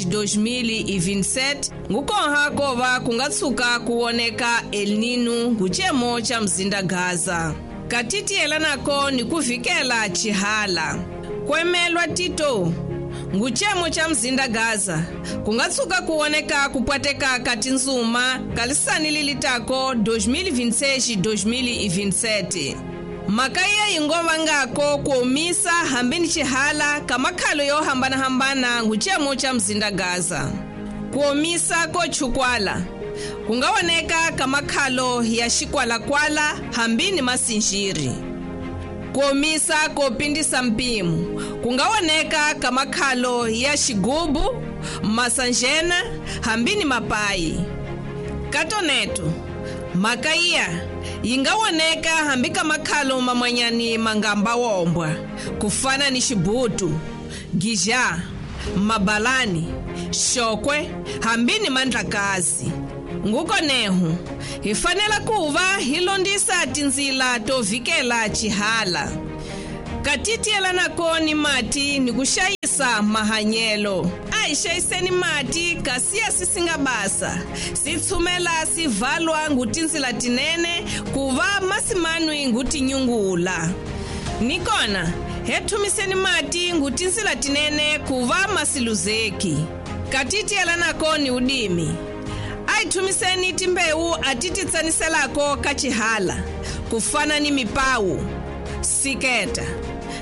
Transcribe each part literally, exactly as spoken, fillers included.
dois mil e vinte e sete ngukonha kova kungatsuka kuoneka El Nino nguchemo cha mzinda Gaza. Katitiyela nako ni kuvikela chihala. Kwemelwa Tito nguchemo cha mzinda Gaza kungatsuka kuoneka kupwateka katinzuma kalisani lilitako dois mil e vinte e seis dois mil e vinte e sete. Makaya ingova ngako kuomisa hambini chihala kamakhalo yo hambana hambana nguchemo cha mzinda Gaza. Kuomisa kochukwala kungaoneka kamakhalo ya xikwalakwala hambini masinjiri. Kuomisa kopindisa mpimo kungaoneka kamakhalo ya xigubu masanjena hambini mapayi. Katoneto makaya yingaoneka hambi kamakhalo mamanyani mangamba wombwa kufana ni xibutu gija mabalani xokwe hambini mandlakazi. Ngukonehu hi fanela kuva hi londisa tindzila to vikela chihala. Katitiyela nako ni mati ni kuxayisa mahanyelo. A hi xayiseni mati kasi ya sisinga basa sitshumela sivalwa ngutindzila tinene kuva masimanwi ngutinyungula. Nikona he thumiseni mati ngutindzila tinene kuva masiluzeki. Katitiyela nako ni udimi. Aithumiseni timbewu atititsaniselako ka chihala kufana ni mipawu siketa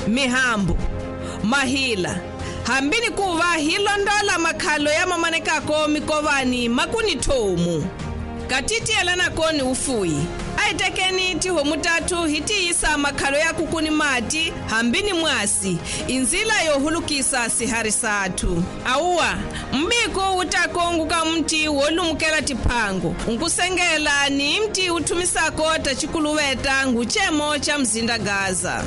mihambu mahila hambini kuva hilondola makhalo ya mamanekako mikovani makuni thomu. Katitiyela nako ni ufuyi. Aitekeni tihomu tatu hitiyisa makhalo ya kukuni mati hambini mwasi inzila yohulukisa sihari sathu. Auwa mbiko utakonguka mti wolumukela tiphango nkusengela ni mti uthumisako tachikuluweta nguchemo cha mzinda Gaza.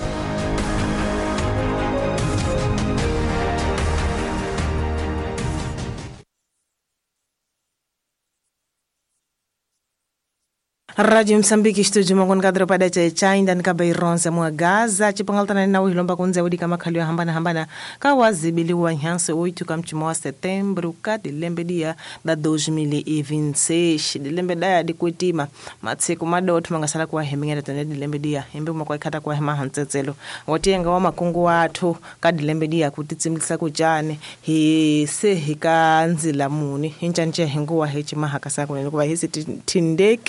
Rádio Moçambique, estúdio Mangon pada cha inda nikabaironza mwa Gaza chipangaltana na uhilomba kunze udi kama khalio hambana hambana kawazibiliwa nhanso oito kamchimo wa setembro ka dilembe dia da dois mil e vinte e seis dilembe daya dikwetima matseko madotho mangasala kwa hemingera tene dilembe dia embe makwa ikhata kwa hema hantsetselo wotenga wa makungu athu ka dilembe dia kutitsimilisa kujane hi se hikanzila muni intshantshe henguwa hechima hakasa kunene kuba hisi tindek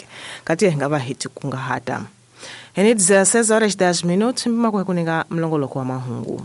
kati ngaba hiti kungahata. Ene dezesseis horas dez minutos mbima kwa kuninga mlongoloko wa mahungu.